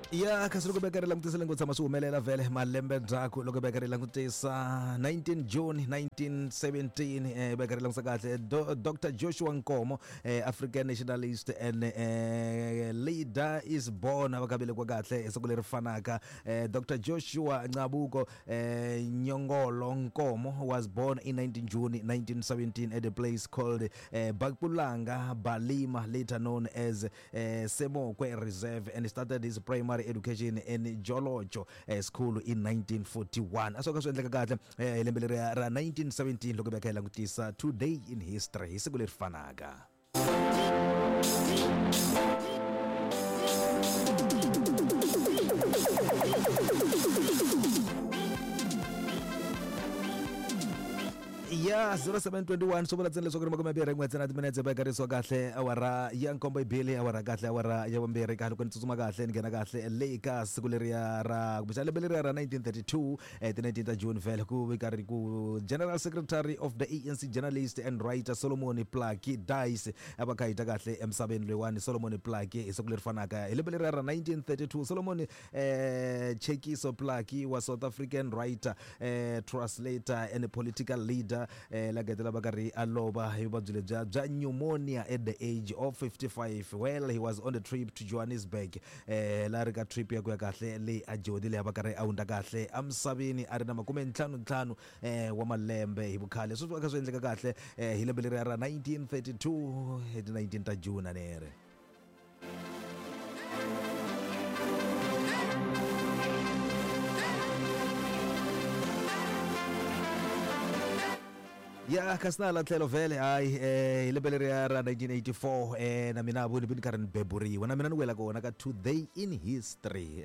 Ya kasi loko beka ri langutisile ngo tshama swi humelela vhele malembe ndzhaku loko beka ri langutisa 19 June 1917 beka ri langutisa kahle Dr Joshua Nkomo African nationalist and leader is born va ka velekiwa kahle hi siku leri fanaka Dr Joshua Ncabuko Nyongolo Nkomo was born in 19 June 1917 at a place called Bakpulanga Balima, later known as Semokwe Reserve, and started his primary education in Jolojo School in 1941. A swo ka swi endleka kahle hi lembe leriya ra 1917 loko hi veka hi langutisa today in history hi siku leri fanaka. Ya 0721 swi vula ntsena leswaku ri makume mbirhi n'we ntsena timinetse va karisiwa kahle awara ya nkombo ibili awara kahle awara ya vumbirhi kahle loko ni tsutsuma kahle ni nghena kahle le ka siku leriya ra kumbexana lembe leriya ra 1932 ti 19 ta June vhele ku vi karhi ku General Secretary of the ANC journalist and writer Solomon Plaatje dies a va kha hi ta kahle emisaveni loyiwani Solomon Plaatje hi siku leri fanaka hi lembe leriya ra 1932 Solomon Tshekiso Plaatje wa South African writer translator and political leader la getela va karhi a lova hi vuvabyi lebya bya pneumonia at the age of 55. Well, he was on the trip to Johannesburg la ri ka trip ya ku ya kahle leyi a Joni leyi a va karhi a hundza kahle emisaveni a ri na makume ntlhanu ntlhanu wa malembe hi vukhale. Sweswi va kha swi endleka kahle hi lembe leriya ra 1932 hi ti 19 ta June a ni ri. Ya kasi na hala tlhelo vhele hayi hi lembe leriya ra 1984 na mina vo ni vi ni karhi ni beburiwa na mina ni wela kona ka today in history.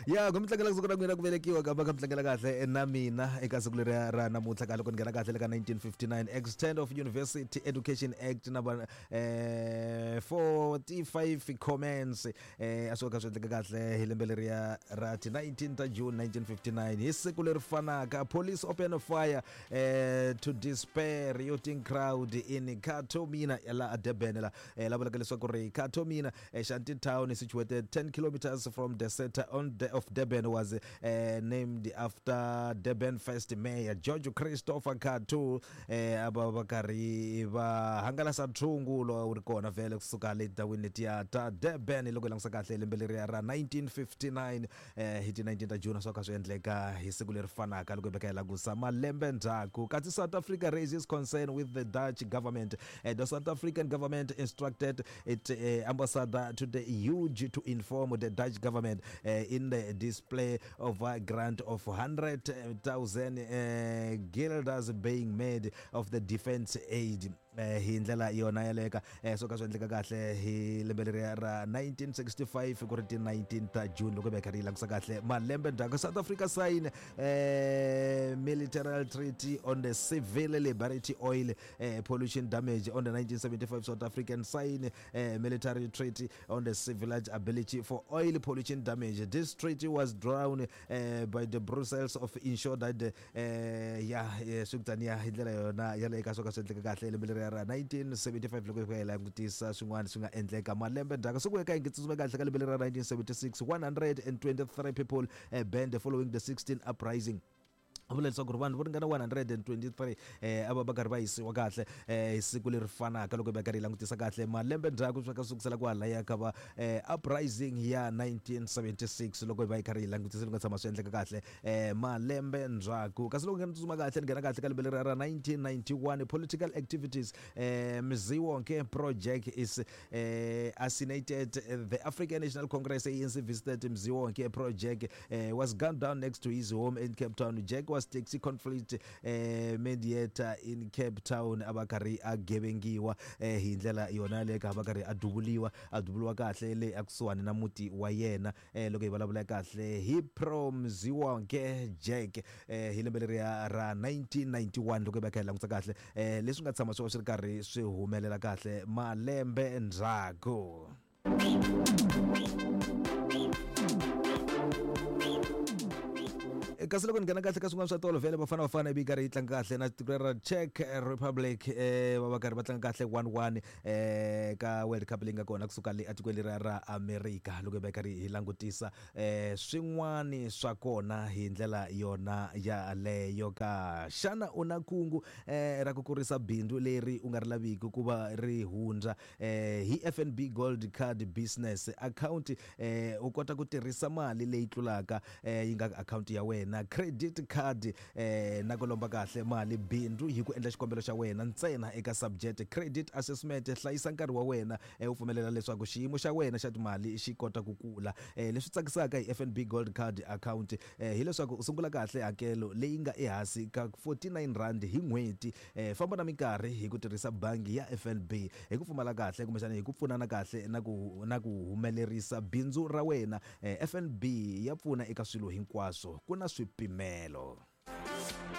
Ya ku mi tlangela siku ra n'wina ku velekiwa kambe ka mi tlangela kahle na mina eka siku leriya ra namuntlha ka loko ni nghena kahle le ka 1959 Extend of University Education Act number 45 comments a swi ka swi endleka kahle hi lembe leriya ra ti 19 ta June 1959 hi siku leri fanaka police open fire to disperse rioting crowd in Katomina la Durban la la vulaka leswaku ri Katomina Shanty Town situated 10 kilometers from the center on the, of Durban was named after Durban first mayor George Christopher Cato a va va karhi va hangalasa nthungu lowu wu ri kona vhele kusuka le tindhawini letiya ta Durban loko hi langusa kahle lembe leriya ra 1959 hi ti 19 ta June swo kha swi endleka hi siku leri fanaka loko hi veka hi langusa malembe ndzhaku. Kasi South Africa raises concern with the Dutch government. The South African government instructed its ambassador to the Hague to inform the Dutch government in the display of a grant of 100,000 guilders being made of the defense aid. Hi ndlela yona yaleka swo ka swi endleka kahle hi lembe leriya ra 1965 ku ri ti 19 ta June loko hi karhi yi langusa kahle malembe ndzhaku. South Africa sign military treaty on the civil liberty oil pollution damage on the 1975 South African sign military treaty on the civil ability for oil pollution damage. This treaty was drawn by the Brussels of ensure that ya swi kutaniya hi ndlela yona yaleyo ka swo ka swi endleka kahle lembe leriya ra 1975 loko hi langutisa swin'wana swi nga endleka malembe ndzhaku siku eka hi nge tsutsuma kahle ka lembe leriya ra 1976 123 people banned following the 16 uprising. Vula leswaku ri vanhu vo ringana 123 a va va karhi va yisiwa kahle hi siku leri fanaka loko hi va karhi hi langutisa kahle malembe ndzhaku swa ka sukusela kwalaya ka va uprising ya 1976 loko hi va hi karhi hi langutisa loko nga tshama swi endleka kahle malembe ndzhaku. Kasi loko ni tsutsuma kahle ni nghena kahle ka lembe leri ra 1991 political activities Mziwonke project is assassinated. The African National Congress ANC visited Mziwonke project was gunned down next to his home in Cape Town. Jack was taxi conflict mediator in Cape Town a va karhi a gevengiwa hi ndlela yona yaleyo ka va karhi a duvuliwa a duvuliwa kahle le ekusuhani na muti wa yena loko hi vulavula kahle hi pro Mziwonke Jack hi lembe leriya ra 1991 loko hi va kha hi languta kahle leswi nga tshama swi va swi ri karhi swi humelela kahle malembe ndzhaku. Kasi loko ni nghena kahle ka swin'wana swa tolo, vhele Bafana Bafana ivi yi karhi yi tlanga kahle na tiko ra Czech Republic, va va karhi va tlanga kahle 1-1 ka World Cup leyi nga kona kusuka le etikweni leriya ra America. Loko hi va hi karhi hi langutisa swin'wani swa kona hi ndlela yona yaleyo ka, xana u na kungu ra ku kurisa bindzu leri u nga ri laviki ku va ri hundza hi FNB Gold Card Business Account? U kota ku tirhisa mali leyi tlulaka yi nga akhawunti ya wena credit card na ku lomba kahle mali bindzu hi ku endla xikombelo xa wena ntsena eka subject credit assessment. Hlayisa nkarhi wa wena, u pfumelela leswaku xiyimo xa wena xa timali xi kota ku kula. Leswi tsakisaka hi FNB Gold Card account hileswaku u sungula kahle hakelo leyi nga ehansi ka R49 hi n'hweti. Famba na minkarhi hi ku tirhisa bangi ya FNB hi ku pfumala kahle kumbexana hi ku pfunana kahle na ku humelerisa bindzu ra wena. FNB ya pfuna eka swilo hinkwaswo, ku na swipimelo.